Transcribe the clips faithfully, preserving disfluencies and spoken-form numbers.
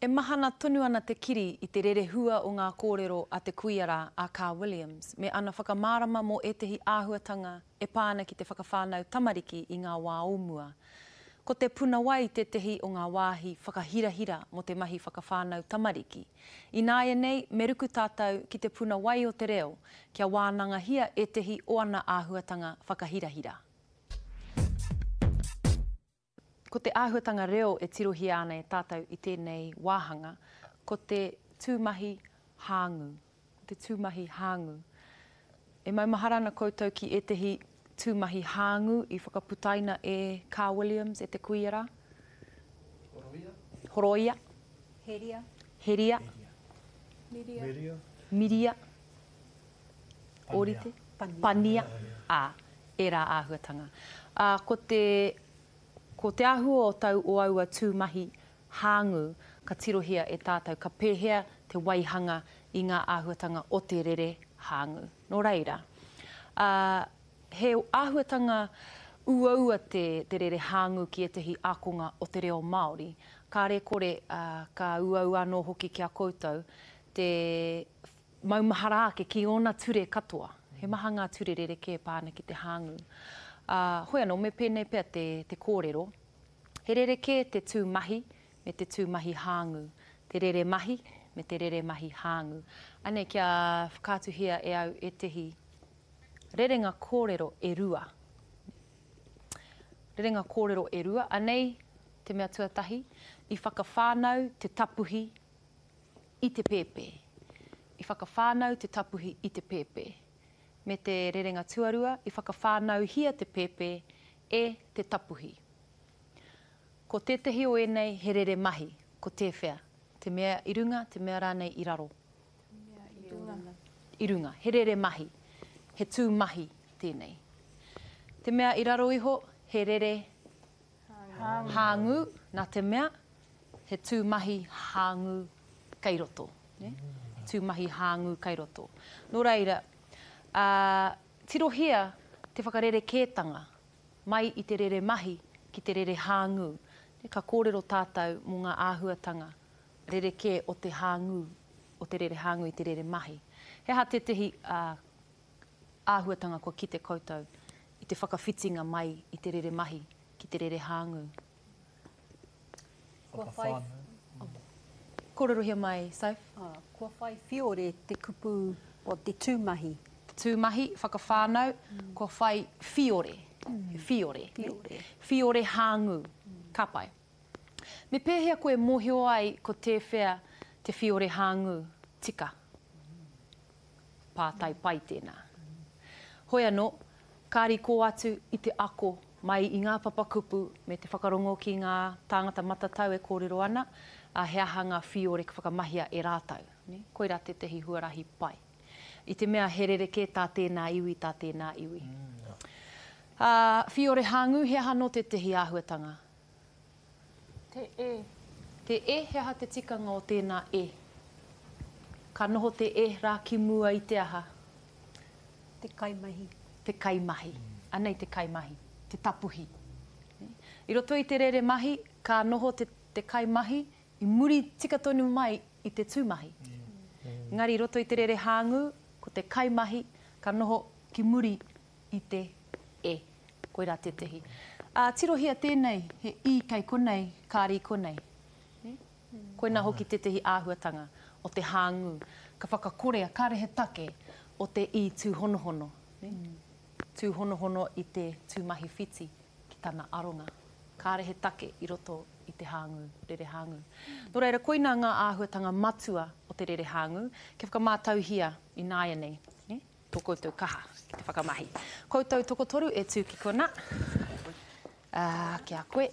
E mahana tonu ana te kiri i te rerehua o ngā kōrero a te kuia rā, a Kaa Williams, me ana whakamārama mō ētehi āhuatanga e pā ana ki te whakawhānau tamariki i ngā wā o mua. Ko te puna wai tētehi o ngā wāhi whakahirahira mō te mahi whakawhānau tamariki. Ināianei, me ruku tātou ki te puna wai o te reo, kia wānangahia ētehi o ana āhuatanga whakahirahira. Ko te āhuatanga reo e tirohia ana e tātou i tēnei wāhanga, ko te tūmahi hāngū. Ko te tūmahi hāngū. E maumahara ana koutou ki ētehi tūmahi hāngū i whakaputaina e Kaa Williams, e te kuia rā? Horoia. Horoia. Heria. Heria. Miria. Miria. Miria. Pania. Ōrite. Pania. Pania. Ā, ērā āhuatanga. Ā, ko te... Ko te āhua o tau o aua tūmahi hāngū ka tirohia e tātou ka pēhea te waihanga i ngā āhuatanga o te rere hāngū. Nō reira, ā, he āhuatanga uaua te, te rere hāngū ki ētehi ākonga o te reo Māori. Kāre kore, ā, ka uaua anō hoki ki a koutou te maumahara ake ki ōna ture katoa. He maha ngā ture rerekē pā ana ki te hāngū. Ā, hoi anō, me pēnei pea te, te kōrero, he rerekē te tū mahi me te tū mahi hāngū, te rere mahi me te rere mahi hāngū. Anei, kia whakaatuhia e au ētehi rerenga kōrero e rua. Rerenga kōrero e rua, anei te mea tuatahi, i whakawhānau te tapuhi i te pēpē. I whakawhānau te tapuhi i te pēpē. Me te rerenga tuarua, i whakawhānauhia te pēpē e te tapuhi. Ko tētehi o ēnei he rere mahi, ko tēwhea? Te mea i runga, te mea rānei i raro? Te mea i runga. I runga, he rere mahi, he tū mahi tēnei. Te mea i raro iho, he rere hāngū, hāngū, nā te mea, he tū mahi hāngū kei roto. Ne? Tū mahi hāngū kei roto. Nō reira, ā, tirohia te whakarerekētanga mai i te rere mahi ki te rere hāngū. Ka kōrero tātou mō ngā āhuatanga rerekē o te hāngū, o te rere hāngū i te rere mahi. He aha tētehi ā, āhuatanga kua kite koutou i te whakawhitinga mai i te rere mahi ki te rere hāngū? Kua whai... Kōrerohia mai, Soph. Ā, kua whai whiore te kupu o te tūmahi. Te tūmahi, whakawhānau, kua whai whiore. Whiore. Whiore. Whiore hāngū. Ka pai. Me pēhea koe mōhio ai ko tēwhea te whiore hāngū tika? Pātai pai tēnā. Hoi anō, kāri kō atu i te ako mai i ngā papakupu me te whakarongo ki ngā tāngata matatau e kōrero ana, ā, he aha ngā whiore ka whakamahia e rātou. Koirā tētehi huarahi pai. I te mea he rerekē tā tēnā iwi, tā tēnā iwi. Ā, whiore hāngū, he aha nō tētehi āhuatanga? Te e. Te e, he aha te tikanga o tēnā e? Ka noho te e rā ki mua i te aha? Te kaimahi. Te kaimahi. Anei te kaimahi, te tapuhi. I roto i te rere mahi, ka noho te, te kaimahi i muri tika tonu mai i te tūmahi. Engari i roto i te rere hāngū, ko te kaimahi ka noho ki muri i te e. Koirā tētehi. Ā, tirohia tēnei, he i kei konei, kāri konei. Koinā hoki tētehi āhuatanga o te hāngū. Ka whakakorea, kāre he take o te i tūhonohono. Tūhonohono i te tūmahi whiti ki tana aronga. Kāre he take i roto i te hāngū, rere hāngū. Nō reira, koinā ngā āhuatanga matua o te rere hāngū, kia whakamātauhia ināianei, ne? Tō koutou kaha ki te whakamahi. Koutou tokotoru e tū ki konā. Ā, ki a koe.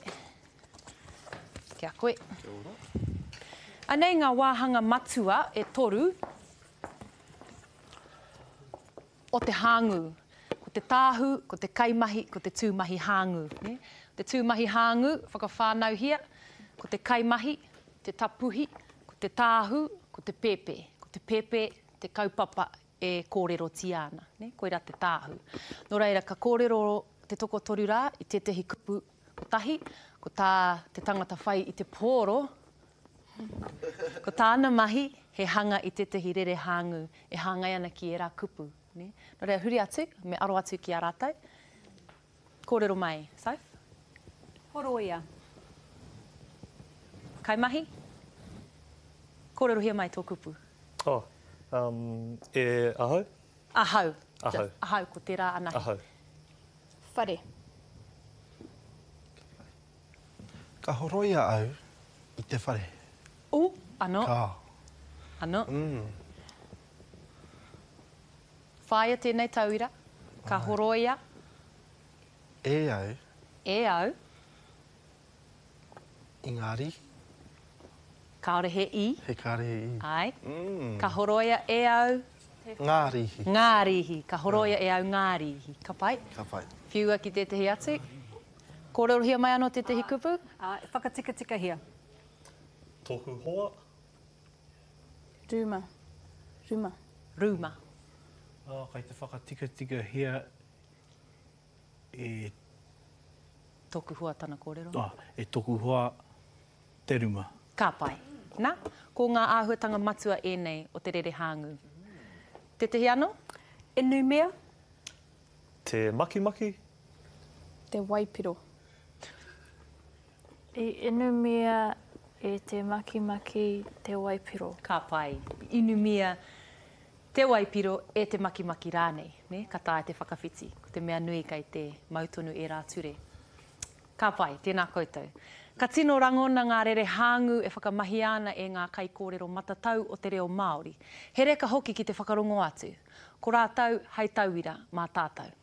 Ki a koe. Kia ora. Anei ngā wāhanga matua e toru o te hāngū. Ko te tāhu, ko te kaimahi, ko te tūmahi hāngū. Ne? Te tūmahi hāngū, whakawhānauhia, ko te kaimahi, te tapuhi, ko te tāhu, ko te pēpē. Ko te pēpē, te kaupapa e kōrerotia ana. Ne? Koirā te tāhu. Nō reira, ka kōrero te tokotoru rā i tētehi kupu kotahi, ko tā te tangata whai i te pōro, Ko tāna mahi, he hanga i tētahi rere hāngū e hāngai ana ki ērā kupu. Nē? Nō reira, huri atu, me aro atu ki a rātou. Kōrero mai, Soph? Horoia. Kaimahi? Kōrerohia mai tō kupu. Oh, um, e ahau? Ahau. Ahau. Just ahau, ko tērā anahe. Ahau. Whare. Ka horoia au i te whare. U, anō. Ka. Anō. Mm. Whāia tēnei tauira. Ka horoia. E au. E au. I ngā rīhi. Kāore he i. He kāore he i. Āe. Mm. Ka horoia e au. Ngā rīhi. Ngā rīhi. Ka horoia e au ngā rīhi. Ka pai? Ka pai. Whiua ki tētahi atu. Kōrerohia mai anō tētahi kupu? Ā, whakatikatikahia. Tōku hoa. Rūma. Rūma. Rūma. Oh, kei te whakatikatikahia e... Tōku hoa tana kōrero. Oh, e tōku hoa te ruma. Ka pai. Nā, ko ngā āhuatanga matua ēnei o te rere hāngū. Tētahi anō? Inumia. Te makimaki. Te waipiro. I inumia e te makimaki te waipiro. Ka pai. Inumia te waipiro e te makimaki rānei. Ne? Ka taea te whakawhiti. Ko te mea nui kei te mau tonu ērā ture. Ka pai, tēnā koutou. Ka tino rangona ngā rere hāngū e whakamahia ana e ngā kaikōrero matatau o te reo Māori. He reka hoki ki te whakarongo atu. Ko rātou hei tauira mā tātou.